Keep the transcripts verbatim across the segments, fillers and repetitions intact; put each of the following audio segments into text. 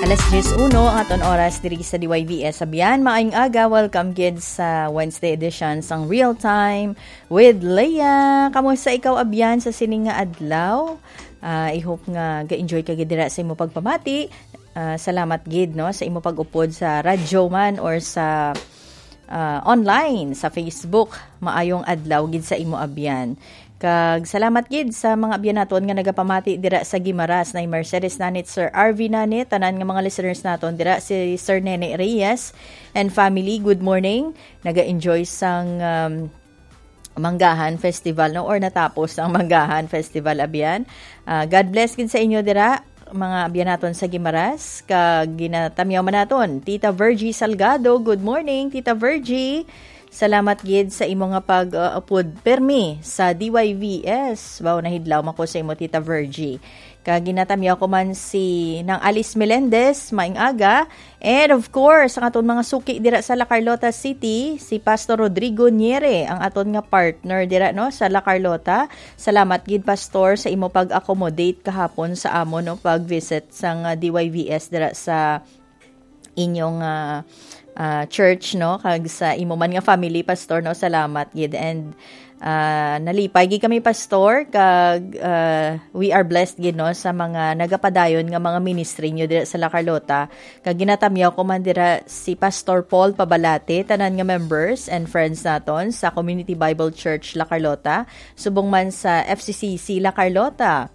Alas diyes uno ang aton oras diri sa D Y V S Abyan. Maayong aga, welcome gid sa Wednesday edition sang Real Time with Leah. Kamusta ikaw, Abyan, sa sini nga adlaw? Ah, I hope nga ga-enjoy ka gid dira sa imo pagpamati. Ah, salamat gid, no, sa imo pag-upod sa radyo man or sa ah, online sa Facebook. Maayong adlaw gid sa imo, Abyan. Kag salamat gid sa mga abyan naton nga nagapamati dira sa Guimaras, na Mercedes Nanit, Sir R V Nanit, tanan nga mga listeners naton dira, si Sir Nene Reyes and family. Good morning. Naga-enjoy sang, um, Manggahan Festival, no, or natapos ang Manggahan Festival, abyan. Ah, God bless gid sa inyo dira, mga abyan naton sa Guimaras, kag ginatamyaw man naton Tita Virgie Salgado. Good morning, Tita Virgie. Salamat gid sa imo nga pag, uh, upod permi sa D Y V S. Wow, nahidlaw man ko sa imo, Tita Virgie. Kag ginatamyaw ko man si Nang Alice Melendez, maayong aga. And of course, ang aton mga suki dira sa La Carlota City, si Pastor Rodrigo Niere, ang aton nga partner dira, no, sa La Carlota. Salamat gid, Pastor, sa imo pag-accommodate kahapon sa amon, no, pag-visit sang, ah, D Y V S dira sa inyong, ah, ah, church, no, kag sa imo man nga family, Pastor, no. Salamat gid. And, ah, nalipay gid kami, Pastor, kag, ah, we are blessed gid, no, sa mga nagapadayon nga mga ministry nyo dira sa La Carlota. Kag ginatamyaw ko man dira si Pastor Paul Pabalate, tanan nga members and friends naton sa Community Bible Church La Carlota, subong man sa F C C C La Carlota.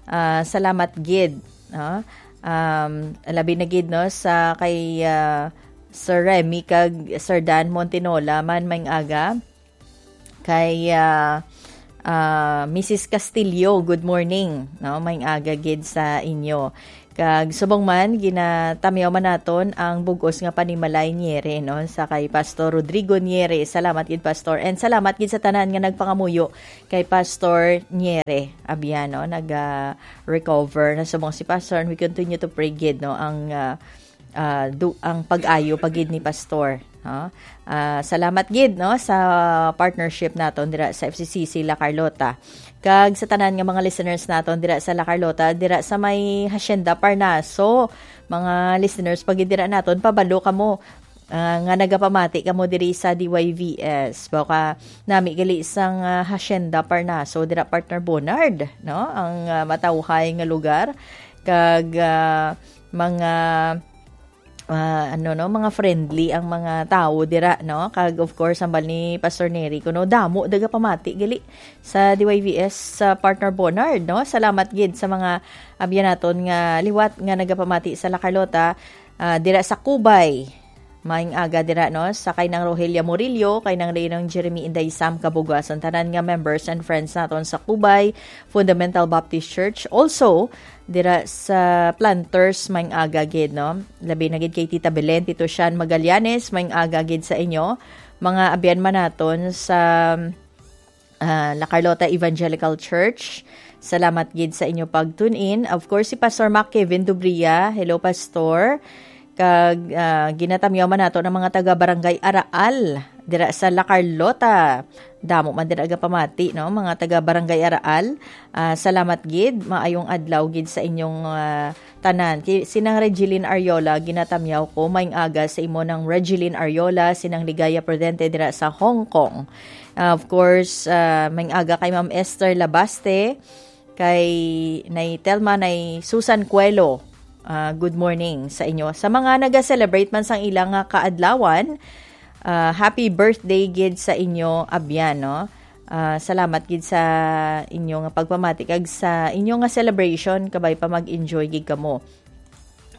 Ah, salamat gid, no? Um, labi na gid, no, sa kay, ah, Sir Remy kag Sir Dan Montinola man, maayong aga. Kay, ah, ah, Missus Castillo, good morning, no? Maayong aga gid sa inyo. Kag subong man, ginatamyaw man naton ang bug-os nga panimalay Niere, no? Sa kay Pastor Rodrigo Niere. Salamat gid, Pastor. And salamat gid sa tanan nga nagpangamuyo kay Pastor Niere Abiano. Nag, ah, recover na subong si Pastor, and we continue to pray gid, no, ang, ah, ah, du-, ang pag-ayo pa gid ni Pastor, no? Ah, salamat gid, no, sa partnership naton dira sa F C C C La Carlota. Kag sa tanan nga mga listeners naton dira sa La Carlota, dira sa may Hacienda Parnaso, mga listeners pa gid dira naton, pabalo kamo, ah, nga nagapamati kamo diri sa D Y V S. Baka nami gali sang, ah, Hacienda Parnaso, dira, partner Bonard, no? Ang, ah, matawhay nga lugar. Kag, ah, mga, ah, ano, no, mga friendly ang mga tawo dira, no? Kag of course, hambal ni Pastor Nery kuno, damo nagapamati gali sa D Y V S, sa partner Bonard, no? Salamat gid sa mga abyan naton nga liwat nga nagapamati sa La Carlota, ah, dira sa Cubay. Maayong aga dira, no, sa kay Nang Rogelia Murillo, kay Nang Reynold Jeremy Inday Sam Kabugason, tanan nga members and friends naton sa Cubay Fundamental Baptist Church. Also, dira sa Planters, maayong aga gid, no. Labi na gid kay Tita Belen, Tito Sean Magallanes, maayong aga gid sa inyo. Mga abyan man naton sa, ah, La Carlota Evangelical Church. Salamat gid sa inyo pag-tune in. Of course, si Pastor Mac Kevin Dubria. Hello, Pastor. Kag, ah, ginatamyaw man nato ng mga taga Barangay Araal dira sa La Carlota. Damo man din agapamati, no? Mga taga Barangay Araal. Ah, salamat gid. Maayong adlaw gid sa inyong, ah, tanan. Ki-, si Nang Regeline Ariola, ginatamyaw ko. Maayong aga sa imo, Nang Regeline Ariola, si Nang Ligaya Prudente dira sa Hong Kong. Ah, of course, ah, maayong aga kay Ma'am Esther Labaste, kay Nay Telma, Nay Susan Cuelo. Ah, good morning sa inyo. Sa mga naga-celebrate man sang ilang nga kaadlawan, ah, happy birthday gid sa inyo, abyan, no? Ah, salamat gid sa inyo nga pagpamati kag sa inyo nga celebration, kabay pa mag-enjoy gid kamo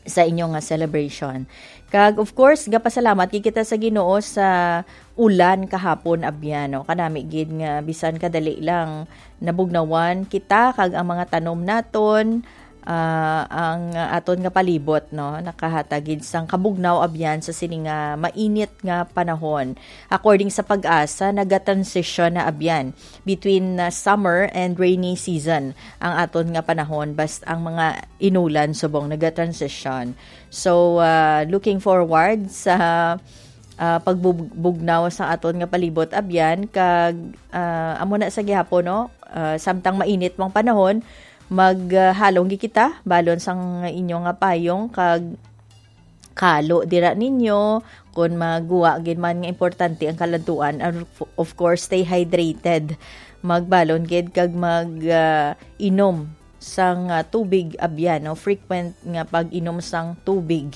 sa inyo nga celebration. Kag of course, gapasalamat gid kita sa Ginoo sa ulan kahapon, abyan, no? Kanami gid nga bisan kadali lang nabugnawan kita kag ang mga tanom naton, ah, ang aton nga palibot, no, nakahatag gid sang kabugnaw, abyan, sa sini nga mainit nga panahon. According sa PAGASA, naga-transition na, abyan, between, ah, summer and rainy season ang aton nga panahon, basta ang mga inulan subong naga-transition. So, ah, looking forward sa, ah, pagbubugnaw sa aton nga palibot, abyan, kag, ah, amo na sa gihapon, no? Ah, samtang mainit mang panahon, maghalong gid kita balon sang inyo nga payong kag kalo dira ninyo, kung maguwa gid man nga importante ang kaladtuan, of, of course, stay hydrated. Magbalon gid kag mag, ah, inom sang, ah, tubig, abyan, no? Frequent nga pag-inom sang tubig.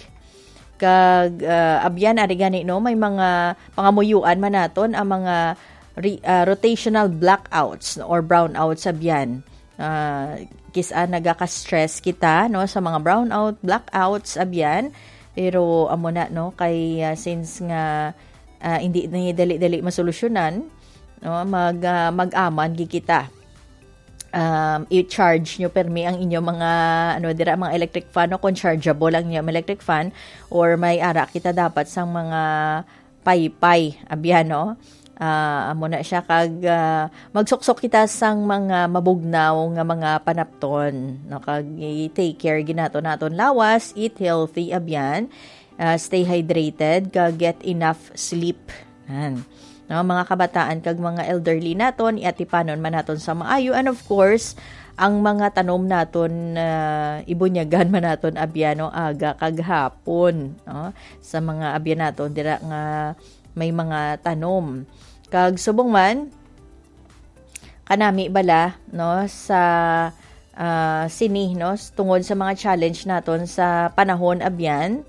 Kag, ah, abyan, ari gani, no, may mga pangamuyuan man naton ang mga re-, ah, rotational blackouts, no, or brownouts, abyan. Ah, kis-a nagaka-stress kita, no, sa mga brownout, blackouts, abyan. Pero amo na, no, kay, ah, since nga, ah, hindi ni dali-dali masolusyonan, no, mag, ah, mag-aman gid kita. Um, i-charge nyo permi ang inyo mga, ano, dira, mga electric fan, no, kung chargeable ang inyong electric fan, or may ara kita dapat sang mga paypay, abyan, no? Ah, amo na siya, kag, ah, magsuksok kita sang mga mabugnaw nga mga panapton, no? Kag i-take care gid naton naton lawas, eat healthy, abyan, ah, stay hydrated, kag get enough sleep. Yan. No, mga kabataan kag mga elderly naton, iatipanon man naton sa maayo. And of course, ang mga tanom naton, ah, ibunyagan man naton, abyan, no, aga kag hapon, no? Sa mga abyan naton dira nga may mga tanom. Kag subong man, kanami bala, no, sa, ah, sini, no, s-, tungod sa mga challenge naton sa panahon, abyan,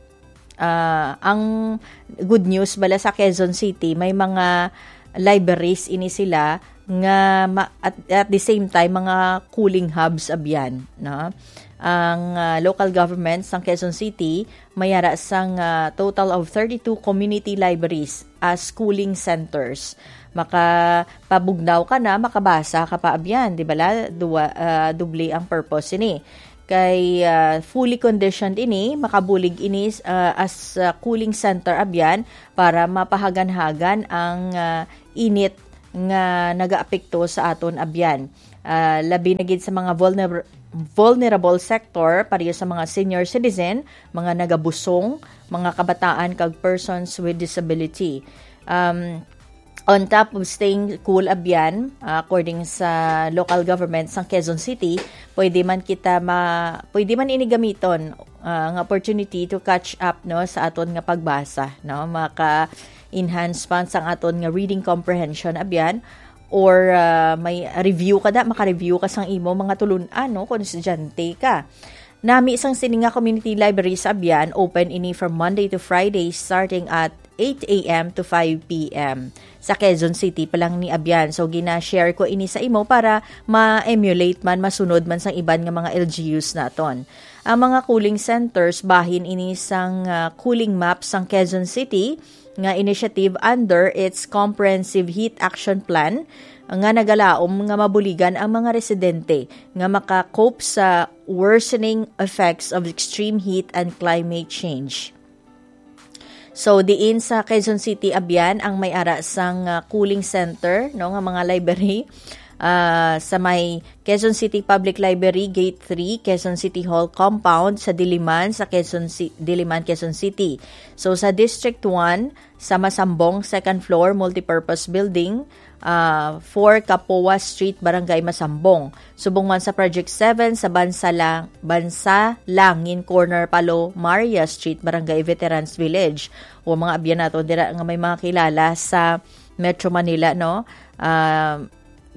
ah, ang good news bala sa Quezon City, may mga libraries ini sila nga ma-, at, at the same time, mga cooling hubs, abyan, no? Ang, ah, local government sang Quezon City may ara sang, ah, total of thirty-two community libraries as cooling centers. Makapabugnaw ka na, makabasa ka pa, abyan, di bala? Duwa, ah, doble ang purpose ini. Kay, ah, fully conditioned ini, makabulig ini, ah, as, ah, cooling center, abyan, para mapahaganhagan ang, ah, init nga nagaapekto sa aton, abyan. Ah, labi na gid sa mga vulner-, vulnerable sector, pareho sa mga senior citizen, mga nagabusong, mga kabataan, kag persons with disability. Um, on top of staying cool, abyan, ah, according sa local government sang Quezon City, pwede man kita ma-, pwede man ini gamiton, ah, nga opportunity to catch up, no, sa aton nga pagbasa, no? Maka-enhance pa sang aton nga reading comprehension, abyan, or, ah, may review ka da, maka-review ka sang imo mga tulun-an, no, kung estudyante ka. Nami sang sini nga community library sa Abyan, open ini from Monday to Friday, starting at eight a m to five p m. Sa Quezon City pa lang ni Abyan. So, gina-share ko ini sa imo para ma-emulate man, masunod man sang iban nga mga L G Us naton. Ang mga cooling centers, bahin ini sang, ah, cooling map sang Quezon City nga initiative under its Comprehensive Heat Action Plan nga nagalaom nga mabuligan ang mga residente nga maka-cope sa worsening effects of extreme heat and climate change. So, diin sa Quezon City, Abyan, ang may ara sang, ah, cooling center, no, nga mga library, ah, sa may Quezon City Public Library, Gate three, Quezon City Hall Compound, sa Diliman, sa Quezon Ci-, Diliman, Quezon City. So, sa District one, sa Masambong, second floor, multipurpose building, ah, four Kapoa Street, Barangay Masambong. Subong man sa Project seven, sa Bansa-, Bansalangin Corner, Palo Maria Street, Barangay Veterans Village. O mga abyan nato dira nga may mga kilala sa Metro Manila, no? Ah,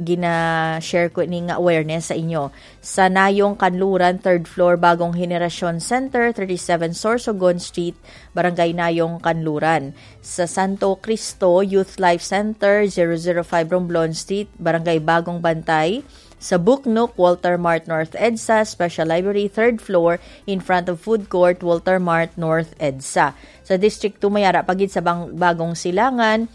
gina-share ko ni nga awareness sa inyo. Sa Nayong Kanluran, third floor, Bagong Henerasyon Center, thirty-seven Sorsogon Street, Barangay Nayong, Kanluran. Sa Santo Cristo Youth Life Center, zero zero five Romblon Street, Barangay Bagong Bantay. Sa Buknok, Walter Mart North EDSA, Special Library, third floor, in front of food court, Walter Mart North EDSA. Sa District two, may ara pa gid sa Bang-, Bagong Silangan,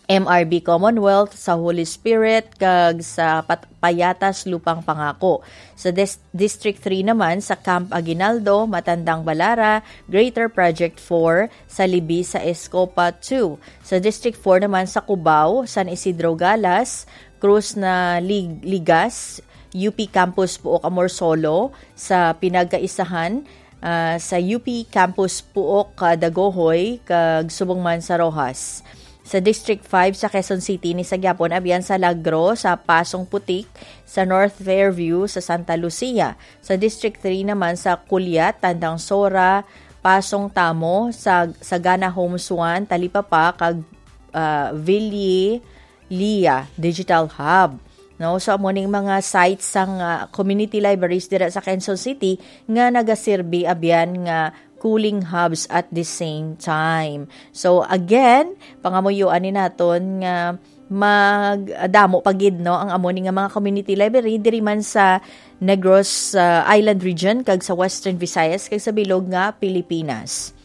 M R B Commonwealth, sa Holy Spirit, kag sa Pat-, Payatas Lupang Pangako. Sa Des-, District three naman, sa Camp Aguinaldo, Matandang Balara, Greater Project four, sa Libis, sa Escopa two. Sa District four naman, sa Cubao, San Isidro Galas, Cruz na Lig-, Ligas, U P Campus Puok Amorsolo, sa Pinagkaisahan, ah, sa U P Campus Puok, ah, Dagohoy, kag subong man sa Roxas. Sa District five sa Quezon City, ni sa gyapon, abyan sa Lagro, sa Pasong Putik, sa North Fairview, sa Santa Lucia. Sa District three naman, sa Culiat, Tandang Sora, Pasong Tamo, sa Sagana Homes One, Talipapa, kag, ah, Ville Lia Digital Hub. No? So, amo ning mga sites sang, ah, community libraries dira sa Quezon City nga nagaserbi abyan nga cooling hubs at the same time. So, again, pangamuyoan ni naton nga magdamo pa gid, no, ang amo ni nga mga community library diri man sa Negros, ah, Island Region kag sa Western Visayas kag sa bilog nga Pilipinas.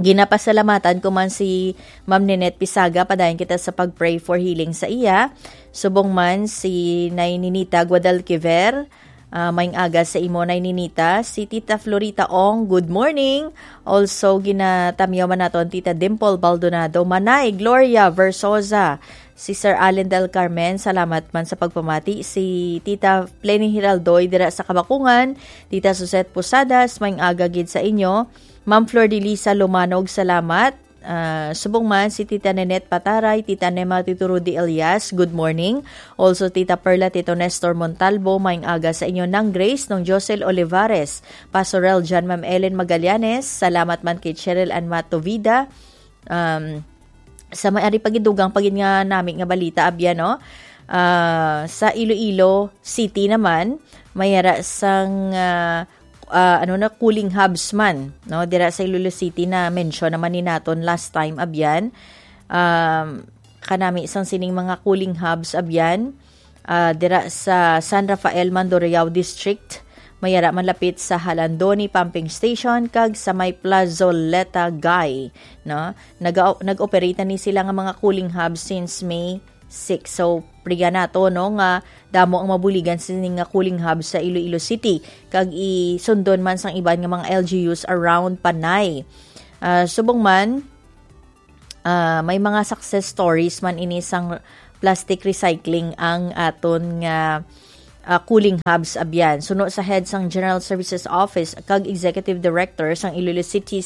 Ginapasalamatan ko man si Ma'am Ninette Pisaga, padayon kita sa pag-pray for healing sa iya. Subong man si Nay Ninita Guadalquiver, ah, maayong aga sa imo, Nay Ninita. Si Tita Florita Ong, good morning. Also, ginatamyaw man naton Tita Dimple Baldonado, Manay Gloria Versosa, si Sir Allen Del Carmen, salamat man sa pagpamati. Si Tita Pleny Hiraldoy dira sa Kabakungan, Tita Suzette Posadas, maayong aga gid sa inyo. Ma'am Flor de Lisa Lumanog, salamat. Ah, subong man si Tita Nenette Pataray, Tita Nema, Tito Rudy Elias, good morning. Also, Tita Perla, Tito Nestor Montalbo, maayong aga sa inyo. Nang Grace, Nong Josel Olivares, Pastor Rel Jan, Ma'am Ellen Magallanes, salamat man kay Cheryl Ann Matovida. Um, sa may ari pagidugang pagin nga nami nga balita, abya, no? Ah, sa Iloilo City naman, may ara sang, ah, ah, ano na, cooling hubs man, no? Dira sa Iloilo City na mention naman ni naton last time, abyan. Um, kanami sang sining mga cooling hubs, abyan. Ah, dira sa San Rafael, Mandurriao District, may ara malapit sa Jalandoni Pumping Station kag sa may Plazoleta, Guy, no? Naga-, nag-operate na ni sila nga mga cooling hub since May six. So, priya nato, no, nga damo ang mabuligan sini nga cooling hub sa Iloilo City, kag isundon man sang iban nga mga L G Us around Panay. Ah, subong man, ah, may mga success stories man ini sang plastic recycling ang aton nga, ah, cooling hubs abyan. Suno sa head sang General Services Office kag Executive Director sang Iloilo City,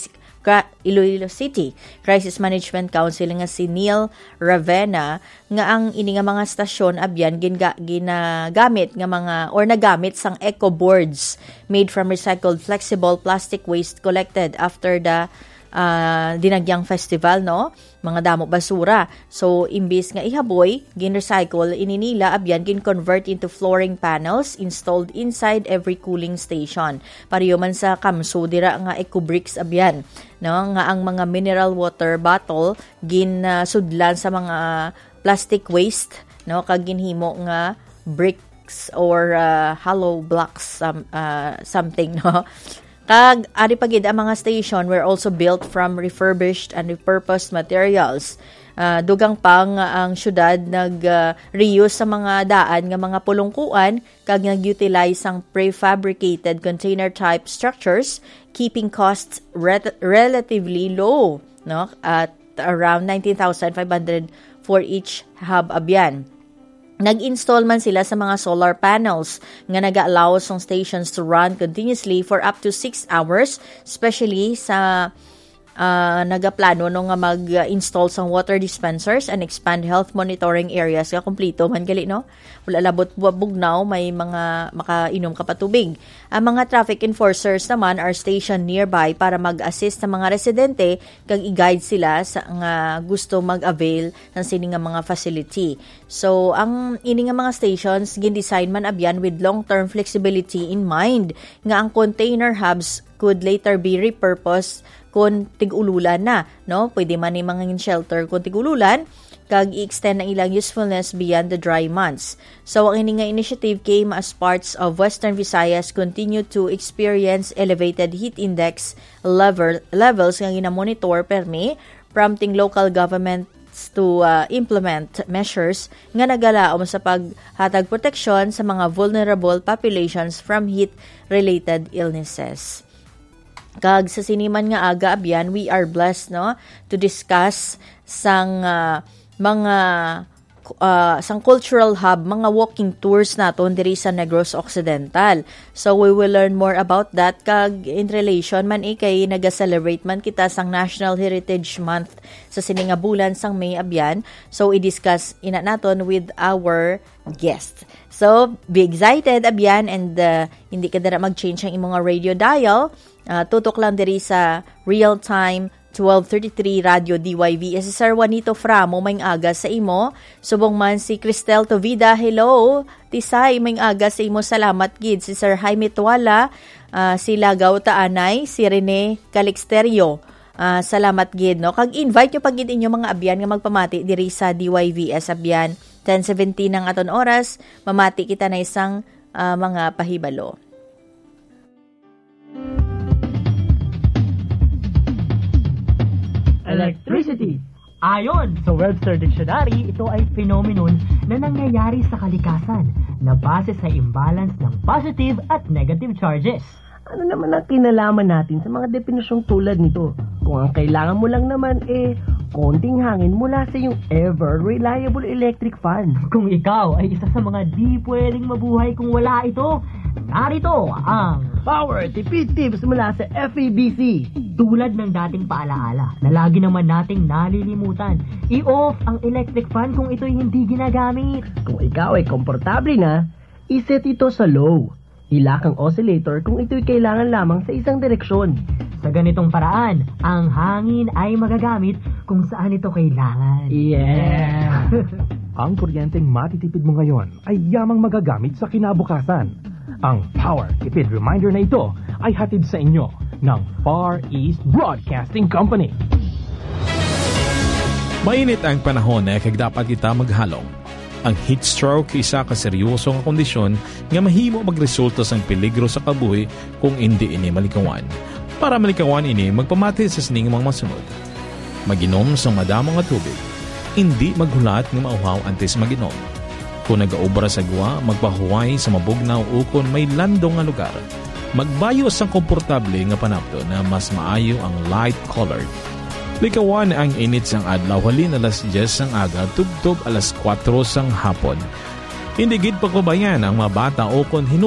Cra-, Iloilo City Crisis Management Council nga si Neil Ravena, nga ang ini nga mga stasyon abyan ginga-, ginagamit nga mga, or nagamit sang eco boards made from recycled flexible plastic waste collected after the, ah, Dinagyang Festival, no? Mga damo basura. So, imbis nga ihaboy, gin-recycle ini nila, abyan gin-convert into flooring panels installed inside every cooling station. Pareho man sa Kamso dira nga eco bricks, abyan, no, nga ang mga mineral water bottle gin, ah, sudlan sa mga plastic waste, no, kag ginhimo nga bricks or, ah, hollow blocks, some-, ah, something, no. Kag ari pa gid ang mga station were also built from refurbished and repurposed materials. Ah, dugang pa nga ang syudad nag, ah, reuse sa mga daan nga mga pulungkuan kag nag-utilize sang prefabricated container type structures, keeping costs re-, relatively low, no, at around nineteen thousand five hundred for each hub abyan. Nag-install man sila sa mga solar panels nga naga-allow sang stations to run continuously for up to six hours, especially sa, ah, nagaplano, no, nga mag-install sang water dispensers and expand health monitoring areas nga kumplito man gali, no? Wala labot bu-, bugnaw, may mga makainom ka pa tubig. Ang mga traffic enforcers naman are stationed nearby para mag-assist sa mga residente kag i-guide sila sa nga gusto mag-avail ng sini nga mga facility. So, ang ini nga mga stations gin-design man abyan with long-term flexibility in mind, nga ang container hubs could later be repurposed kon tig-ululan na, no? Pwede man ni mangin shelter kon tig-ululan, kag i-extend ang ilang usefulness beyond the dry months. So, ang ini nga initiative came as parts of Western Visayas continue to experience elevated heat index level, levels nga ginamonitor permi, prompting local governments to, uh, implement measures nga nagalaom sa paghatag proteksyon sa mga vulnerable populations from heat-related illnesses. Kag sa sini man nga aga, abyan, we are blessed, no, to discuss sang, uh, mga, uh, sang cultural hub, mga walking tours naton diri sa Negros Occidental. So, we will learn more about that. Kag in relation man, eh, kay naga-celebrate man kita sang National Heritage Month sa sini nga bulan sang May, abyan. So, i-discuss ina naton with our guest. So, be excited, abyan, and, uh, hindi ka dira mag-change ang imong radio dial. Ah, tutok lang diri sa Real Time twelve thirty-three Radyo D Y V S. Si Sir Juanito Framo, may aga sa imo. Subong man si Cristel Tovida, hello. Tisay, may aga sa imo. Salamat gid. Si Sir Jaime Tuala, ah, si Lagaw Taanay, si Rene Calixterio. Ah, salamat gid, no? Kag invite nyo pa gid inyo mga abyan nga magpamati diri sa D Y V S Abyan. Ten seventeen ang aton oras, mamati kita na isang, ah, mga pahibalo. Electricity. Ayon sa Webster Dictionary, ito ay phenomenon na nangyayari sa kalikasan na base sa imbalance ng positive at negative charges. Ano naman ang kinalaman natin sa mga depinisyong tulad nito? Kung ang kailangan mo lang naman, eh, konting hangin mula sa iyong ever reliable electric fan. Kung ikaw ay isa sa mga di pwedeng mabuhay kung wala ito, narito ang Power Tipid Tips mula sa F E B C. Tulad ng dating paalaala na lagi naman nating nalilimutan, i-off ang electric fan kung ito'y hindi ginagamit. Kung ikaw ay komportable na, iset ito sa low. Ilak ang oscillator kung ito'y kailangan lamang sa isang direksyon. Sa ganitong paraan, ang hangin ay magagamit kung saan ito kailangan. Yeah. Ang kuryenteng matitipid mo ngayon ay yamang magagamit sa kinabukasan. Ang Power Tipid Reminder na ito ay hatid sa inyo ng Far East Broadcasting Company. Mainit ang panahon, eh, kag dapat kita maghalong. Ang heat stroke isa ka seryoso nga kondisyon nga mahimo magresulta sang peligro sa kabuhi kung indi ini malikawan. Para malikawan ini, magpamati sa sining mga masunod. Mag-inom sang madamo nga tubig. Indi maghulat nga mauhaw antes mag-inom. Kung nagaobra sa gwa, magpahuway sa mabugnaw ukon may landong nga lugar. Magbayo sang komportable nga panapton na mas maayo ang light colored. Likawan ang init sang adlaw halin alas diyes sang aga tubtob alas kuwatro sang hapon. Indi gid pagpabayan ang mga bata ukon hinup-